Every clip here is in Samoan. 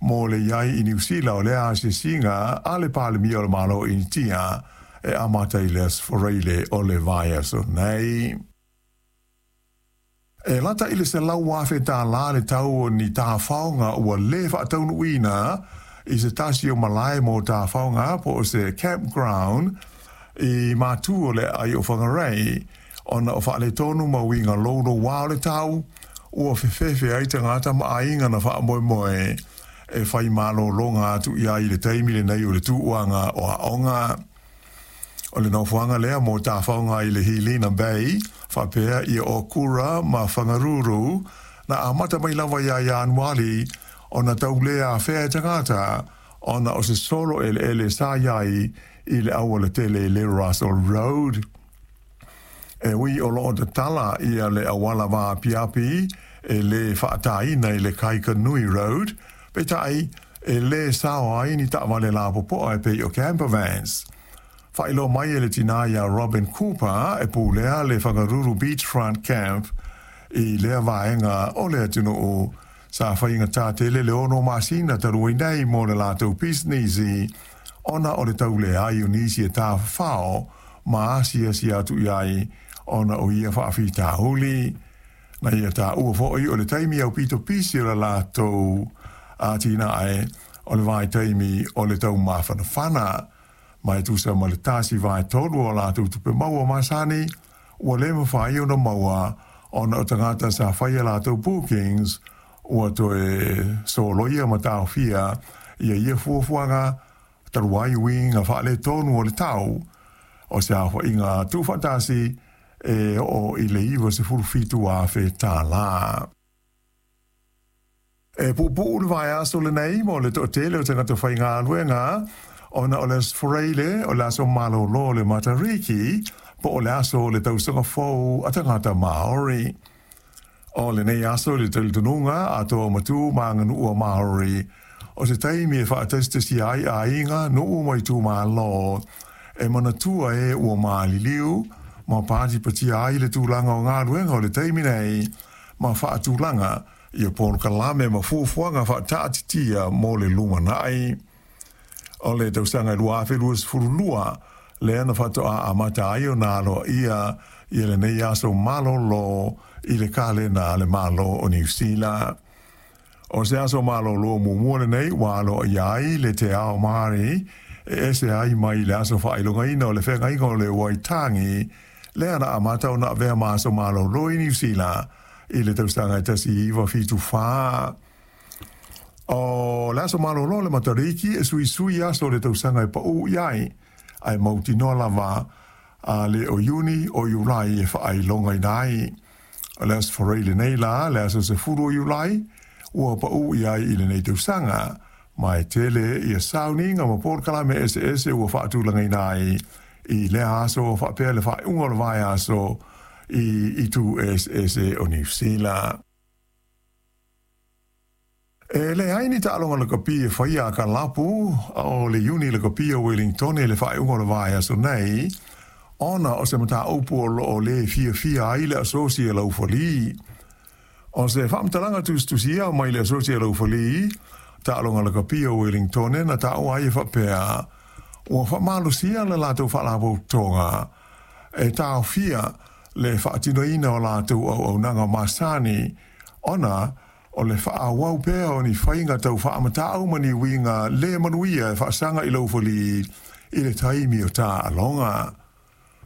mo le i ai i Niu Sila o lea asiasiga a le Palemia o le Malo o Initia e amata i le Aso Faraile o le vaiaso nei. E lata i le $100,000 le tau o ni tafaoga ua lē faataunuuina i se tasi o malae mo tafaoga po o se campground i Matu o le aai o Whangarei ona o faaletonu ma uiga loulouā o le tau ua fefefe ai tagata ma aiga na faamoemoe e fai malologa atu i ai i le taimi lenei o le tuuaga o aoga. O le nofoaga lea mo tafaoga i le Hilina Bay, faapea ia Okura ma Whangaruru, na amata mai lava ia Ianuari ona tau lē afea e tagata ona o se solo eleele sa i ai i le aualatele i le Russell Road. E ui o loo tatala ia le auala vaapiapi e lē faataina i le Kaikanui Road, peitai e lē sao ai ni taavale lapopoa e pei o camper vans. Faailoa mai e le tinā iā Robin Cooper e pulea le Whangaruru Beachfront Camp i lea vaega o le atunuu sa faigatā tele le 6 masina talu ai nei mo le latou pisinisi ona o le tauleai o nisi e tafafao ma asiasi atu i ai ona o ia faafitauli. Na ia taua foi o le taimi aupito pisi o le latou atinae o le vaitaimi o le taumafanafana ma e tusa ma le 1/3 o latou tupe maua masani ua lē mafai ona maua ona o tagata sa faia latou bookings ua toe soloia ma taofia ia ia fuafuaga talu ai uiga faaletonu o le tau o se aofaiga tuufaatasi e oo i le $97,000. E puupuu le vaiaso lenei mo le toatele o tagata faigaluega ona o le Aso Faraile o le aso malolo o le Matariki po o le aso o le tausaga fou a tagata Māori. O lenei aso i le talitonuga a toa matū ma aganuu a Māori o se taimi e faatasitasia ai aiga, nuu ma itumalo e manatua e ua maliliu ma patipatia ai le tulaga o galuega o le taimi nei ma faatulaga ia polokalame ma fuafuaga faataatitia mo le lumanai. O le tausaga 2022 lea na faatoa amata ai ona aloaia ia lenei aso malolo i le kalena a le Malo o Niu Sila. O se aso malolo muamua lenei ua aloaia ai le Te Ao Māori e ese ai mai le aso faailogaina o le feagaiga o le Waitangi lea na amata ona avea ma aso malolo i Niu Sila i le tausaga e 1974. O le aso malolo le Matariki e suisui aso o le tausaga e paū i ai, ae mautinoa lava a le o Iuni o Iulai e faailogaina ai. O le Aso Faraile lenei la, le aso 10 o Iulai, ua paū i ai i lenei tausaga, ma e tele ia sauniga ma polokalame eseese ua faatulagaina ai i lea aso faapea le faaiuga o le vaiaso i itu eseese o Niu Sila. E leai ni taaloga lakapi e faia a kalapu o le Iuni Lakapi o Wellington i le faaiuga o le vaiaso nei, ona o se mataupu o loo lē fiafia ai le Asosi a Laufali. O se faamatalaga tusitusia mai le Asosi a Laufali taaloga lakapi o Wellington na taua ai e faapea ua faamalosia le latou faalapotopotoga e taofia le faatinoina o latou auaunaga masani ona o le faaauau pea o ni faiga tau faamatau ma ni uiga lē manuia e faasaga i laufali i le taimi o taaloga.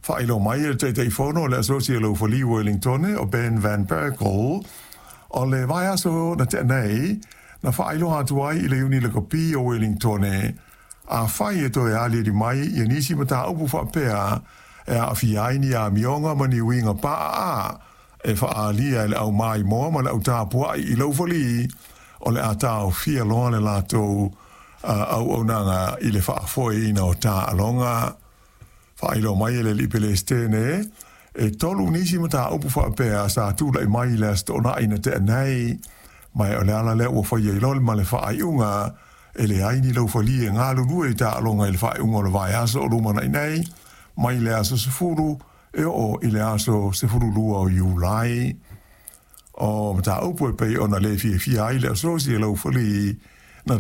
Faailoa mai e le Taitaifono o le Asosi a Laufali Wellington o Ben Van Berkel o le vaiaso na tea nei na faailoa atu ai i le Iuni Lakapi o Wellington afai e toe aliali mai ia nisi mataupu faapea e aafia ai ni amioga ma ni uiga paaa e faaalia e le aumaimoa ma le autapua'i i laufali o le a taofia loa le latou auaunaga i le faafoeina o taaloga. Faailoa mai e le alii Pelesitene e 3 nisi mataupu faapea sa tula'i mai i le Aso Toonai na tea nei, ma o le ala lea ua faia ai loa ma le faaiuga e leai ni laufali e galulue i taaloga i le faaiuga o le vaiaso o lumanai nei mai le aso 10 e oo i le aso 12 o Iulai. O mataupu e pei ona lē fiafia ai le Asosi a Laufali